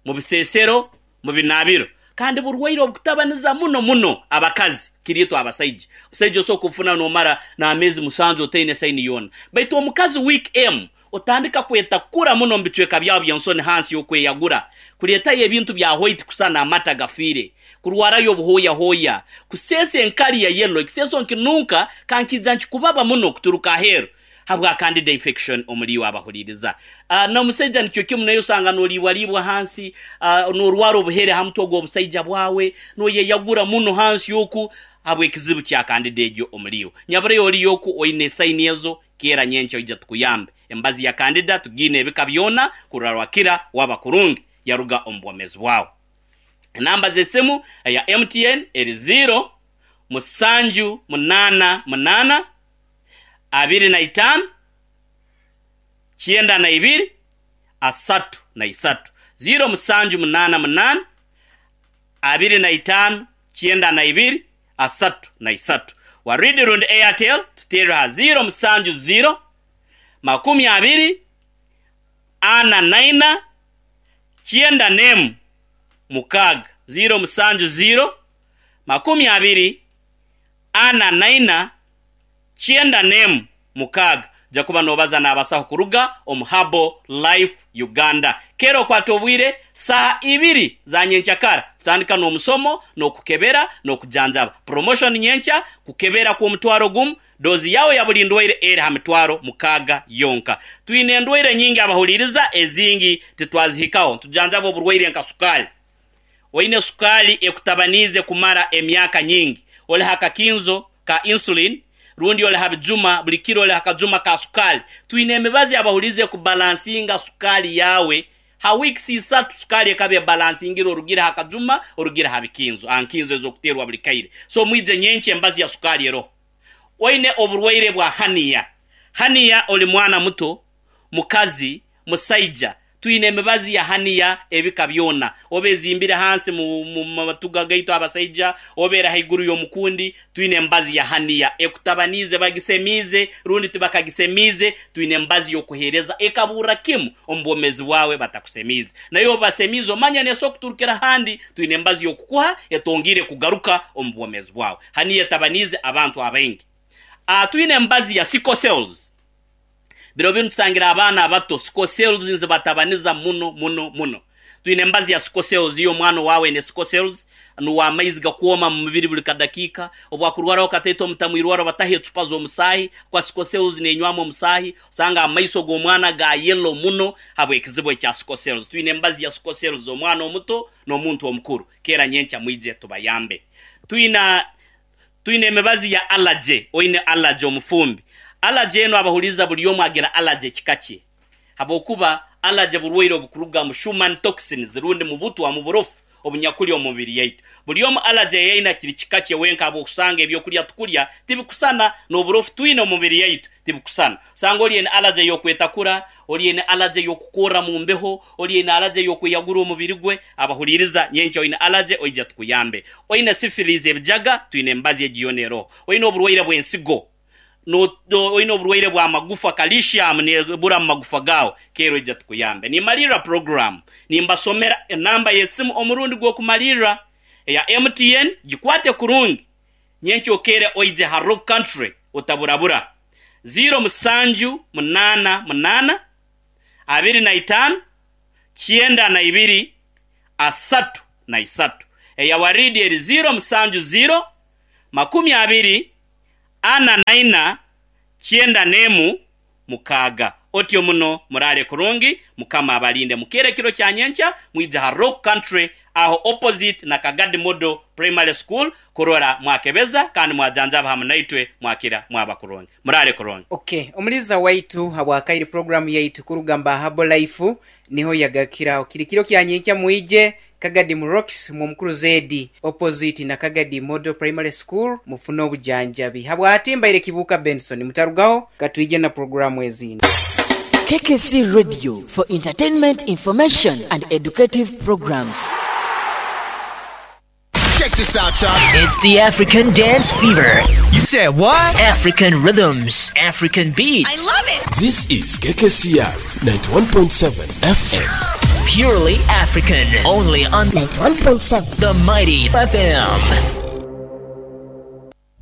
mu bisesero, mu binaabiro. Kandi burwaire obukutabaniza muno muno abakazi kiri itwe abasaija. Omusaija osobola kubufuna nomara n'ameezi musanju otaine saini yoona. Baitu omukazi week emu Otandika kwetakura muno omu bicweka byawe by'ensoni hansi y'okweyagura, kuleetayo ebintu bya hwaiti kusana amata gafiire, kurwarayo obuhooyahooya, kuseesa enkali ya yellow, ekiseeso nkinunka kankiija nkikubaba muno kuturuka aheeru habwa candida infection omuli iwe abahuliiriza. N'omusaija nikyo kimu naye osanga noliibwaliibwa hansi, norwara obuhere ha mutwe gw'obusaija bwawe, noyeyagura muno hansi oku habw'ekizibu kya candida egyo omuli iwe. Nyabureyo oliyo oku oine saini ezo, Keera nyenkya oija tukuyambe. Emibazi ya Candida tugiine ebika byona kurora rwakira waba kurungi yaruga omu bwomeezi bwawe. Enamba z'esimu eya MTN eri ziiro, musanju munaana munaana, 25, 92, 33. Ziiro musanju munaana munaana, 25, 92, 33. Waridi rundi Airtel tuteerre ha 0 7 0 20 44 91 6 0 7 0 20 44 91 6. Oja kuba nobaza n'abasaho kuruga omu Herbal Life Uganda. Keera okwate obwire saaha ibiri za nyenkyakara tutandika n'omusomo n'okukebera n'okujanjaba. Promotion nyenkya, kukebera kw'omutwaro gumu, doozi yaawe ya buli ndwaire eri ha mitwaro mukaaga yonka. Twine endwaire nyingi abahuliiriza ezingi titwazihikaho. Nitujanjaba oburwaire nka sukaali. Oine sukaali ekutabaniize kumara emyaka nyingi? Oli ha kakinzo ka insulin rundi oli ha bijuma buli kiro oli ha kajuma ka sukaali? Twine emibazi abahuliize kubalansinga sukaali yaawe. Ha weeks isatu sukaali ekaba ebalansingire orugire ha kajuma orugire ha bikinzo, ha nkinzo ez'okuteerwa buli kaire. So mwije nyenkya emibazi ya sukaali eroho. Oine oburwaire bwa hernia? Hernia oli mwana muto, mukazi, musaija, twine emibazi ya haniya ebika byona, oba ezimbire hansi mu matuga gaitu abasaija, oba eri haiguru y'omukundi, twine emibazi ya haniya ekutabaniize, bagisemiize rundi tibakagisemiize, twine emibazi y'okuheereza ekaburra kimu omu bwomeezi bwawe batakusemiize. Naye obu basemiize omanya neesobora kuturukira handi, twine emibazi y'okukuha etongiire kugaruka omu bwomeezi bwawe. Haniya etabaniize abantu abaingi. Twine emibazi ya sickle cells. Biro binu tusangire abaana abato sickle cells nizibatabaniza muno muno muno. Twine embazi ya sickle cells, iyo omwana owaawe aine sickle cells, nuwe amaizi gakwoma mu mubiri buli kadakiika, obu akurwaraho kataito omutamu irwaro bataho ecupa z'omusaahi, kwa sickle cells nenywamu omusaahi, osanga amaiso g'omwana ga yellow muno habw'ekizibu ekya sickle cells. Twine embazi ya sickle cells omwana omuto n'omuntu omukuru. Keera nyenkya mwije tubayambe. Twina Twine emibazi ya allergy, oine allergy omufumbi. Allergy enu abahuliiriza buli omu agira allergy ekika kye. Habwokuba allergy burwaire obukuruga mu Schumann toxins rundi mu butwa, mu burofu obunyakuli omu mubiri yaitu. Buli omu allergy ei aine kiri kika kye wenka habw'okusanga ebyokulya tukulya tibikusana n'oburofu twine omu mubiri yaitu tibikusana. Osanga oli aine allergy ey'okwetakura, oli aine allergy ey'okukorra mu mbeho, oli aine allergy ey'okweyagura omubiri gwe. Abahuliiriza, nyenkya oine allergy oija tukuyambe. Oine syphilis, ebijaga, twine emibazi egi yoona eroho. Oine oburwaire bw'ensigo, oine oburwaire bw'amagufa, calcium nebura mu magufa gaawe, keera oija tukuyambe. Nimalirra puroguraamu, nimbasomera enamba y'esimu omurundi gw'okumalirra eya MTN, gikwate kurungi. Nyenkya okeere oije ha Rock Country otaburabura. Ziiro musanju munaana munaana, 25, 92, 33. Eya Waridi eri ziiro musanju ziiro, 20, 44, 91, 6. Otyo muno muraale kurungi, Mukama abalinde. Mukeere ekiro kya nyenkya mwije ha Rock Country aho opposite na Kagadi Model Primary School kurora mwakebeza kandi mwajanjaba hamu naitwe mwakira mwaba kurungi. Muraale kurungi. Ok, omuliiza waitu habwakaire program yaitu kuruga mba Herbal Life niho yagakiraho. Kiri kiro kya nyenkya mwije Kagadi mu Rocks mu Omukuru Zedi opposite na Kagadi Model Primary School mufune obujanjabi. Habwati mbaire Kibuuka Benson mutarugaho katwije na program ezindi. KKC Radio for entertainment, information and educative programs. Check this out, y'all. It's the African Dance Fever. You said what? African rhythms, African beats. I love it. This is KKCR 91.7 FM. Purely African. Only on 91.7 The Mighty FM.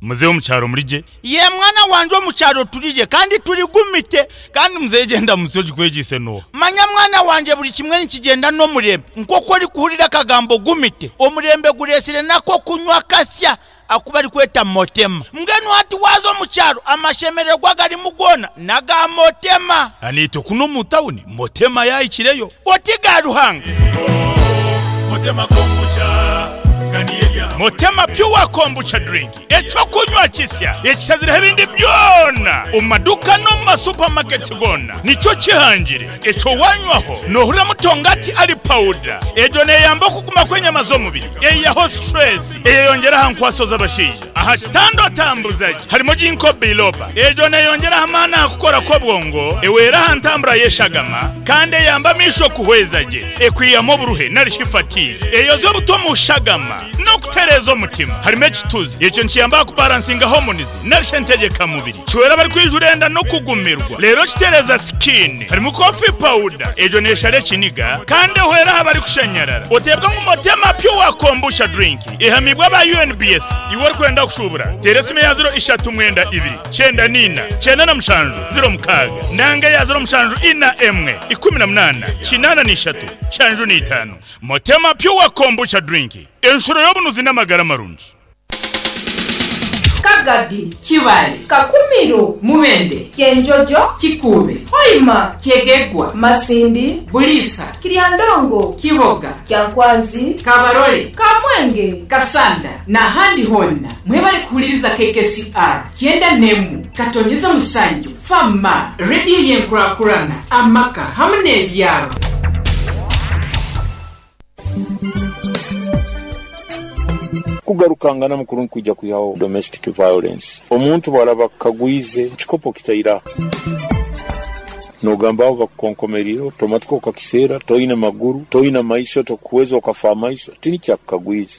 Muzeeyi omu kyaro muri gye? Yee mwana wangye omu kyaro turi gye kandi turi gumite. Kandi muzeeyi gyenda musyo ogikwegyeise n'oha? Manya mwana wangye buri kimwe nikigyenda n'omurembe. Nk'oku orikuhurira akagambo gumite, omurembe gureetsire n'ak'okunywa akasya aku barikweta motema. Mbwenu hati waaza omu kyaro amashemererwa agarimu goona n'aga motema. Naitwe kunu omu tawuni motema yaahikireyo. Oti ga Ruhanga! Motema Pure Kombucha Drink, eky'okunywa kisya ekishazireho ebindi byona omu maduuka n'omu ma supermarkets goona nikyo kihangire. Ekyo wanywaho nohuriramu tongati ali powder. Egyo neyamba okuguma kw'enyama z'omubiri, eyihaho stress, eyeyongyera aha nkwaso z'abashaija. Aha kitanda otambuza gye harimu Ginkgo biloba. Egyo neyongyera aha maani aha kukora kw'obwongo, ehwera aha ntambura y'eshagama kandi eyamba amaisho kuhweza gye. Ekwihamu oburuhe nari shi fatigue. Eyoza obuto omu shagama n'okutereeza omutima. Harimu ekituzi. Ekyo nikiyamba aha kubaransinga hormones nari shi entegyeka mubiri. Kihwera abarikwijura enda n'okugumirwa. Reero kitereeza skin. Harimu coffee powder. Egyo neeshara ekiniga kandi ehwera aha barikushanyarara. Oteebwa ngu Motema Pure Kombucha Drink ehamiibwe aba UNBS. Iwe orikwenda kushuubura, teera esimu eya ziro ishatu mwenda ibiri, kyenda n'ina, kyenda na mushanju, ziro mukaaga, nanga eya ziro mushanju ina emwe, ikumi na munaana, kinaana na ishatu, nshanju na itaano. Motema Pure Kombucha Drink, enshuro y'obunuzi n'amagara marungi. Kagadi, Kibale, Kakumiro, Mubende, Kyenjojo, Kikuube, Hoima, Kyegegwa, Masindi, Buliisa, Kiryandongo, Kiboga, Kyankwanzi, Kabarole, Kamwenge, Kasanda n'ahandi hoona. Mwebale kuhuliriza KKCR kyenda n'emu katonyeza musanju Fama, rediyo y'enkurakurana, amaka hamu n'ebyaro. Kugarukangana mukuru nkwija kwihaho domestic violence. Omuntu bw'araba akukagwize ekikopo kitaira nogamba aho bakukonkomerire otomatika okakiseera toine maguru toine maiso tokuweza okafa amaiso tinikyakukagwize.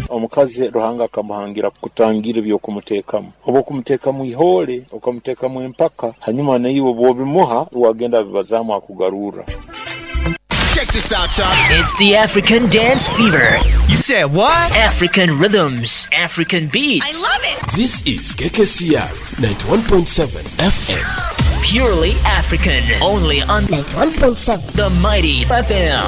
Omukazi Ruhanga akamuhangira kutangira eby'okumuteekamu. Obu okumuteekamu ihoole, okamuteekamu empaka, hanyuma naiwe obu obimuha, wagenda abibazaamu akugarurra. Check this out, y'all. It's the African Dance Fever. You said what? African rhythms, African beats. I love it. This is KKCR 91.7 FM. Purely African. Only on 91.7 The Mighty FM.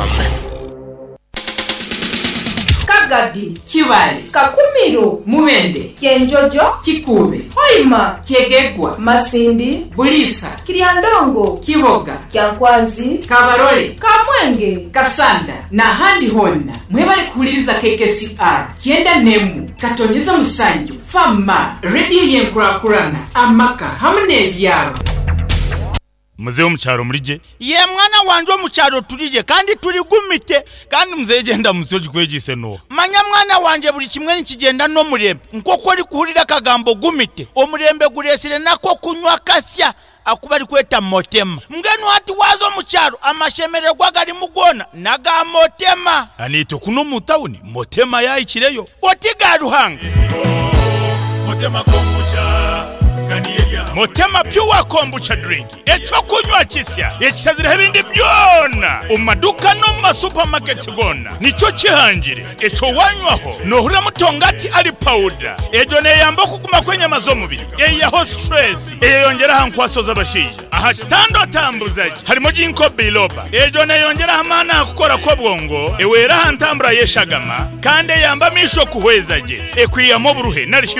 Kagadi, Kibale, Kakumiro, Mubende, Kyenjojo, Kikuube, Hoima, Kyegegwa, Masindi, Bulisa, Kiryandongo, Kiboga, Kyankwanzi, Kabarole, Kamwenge, Kasanda n'ahandi honna mwebale kuwuliriza KKCR 97.7 Fama rediyo y'enkurakurana amaka hamu n'ebyaro. Muzehe omukyaro murije? Ye mwana wanje, omukyaro turije kandi turigumite. Kandi muzehe genda musi ogikwegise noha? Manya mwana wanje, buli kimwe nikigenda n'omurembe. Nk'oku orikuhurira akagambo gumite, omurembe guresire nako kunywa kasya akuba arikweta motema. Mbwenu hati waza omukyaro, amashemererwa garimu goona naga motema. Aniite kuno mu tawuni motema yahikireyo. Oti ga Ruhanga. Motema kombucha. Motema Pure Kombucha drink, ekyokunywa kisya ekishazireho ebindi byona omu maduka no mu masupamaketi gona. Nikyo kihangire ekyo wanywaho nohurira mutongati ali pawuda. Egyo neyamba okuguma kw'enyama z'omubiri, eyiyaho stress, eyeyongera aha nkwaso z'abashaija aha kitanda otambuza gye. Harimo ginkgo biloba, egyo neyongera amaani aha kukora kw'obwongo, ewera aha ntambura y'eshagama, kandi eyamba amaisho kuhweza gye, ekwihamu oburuhe narishi.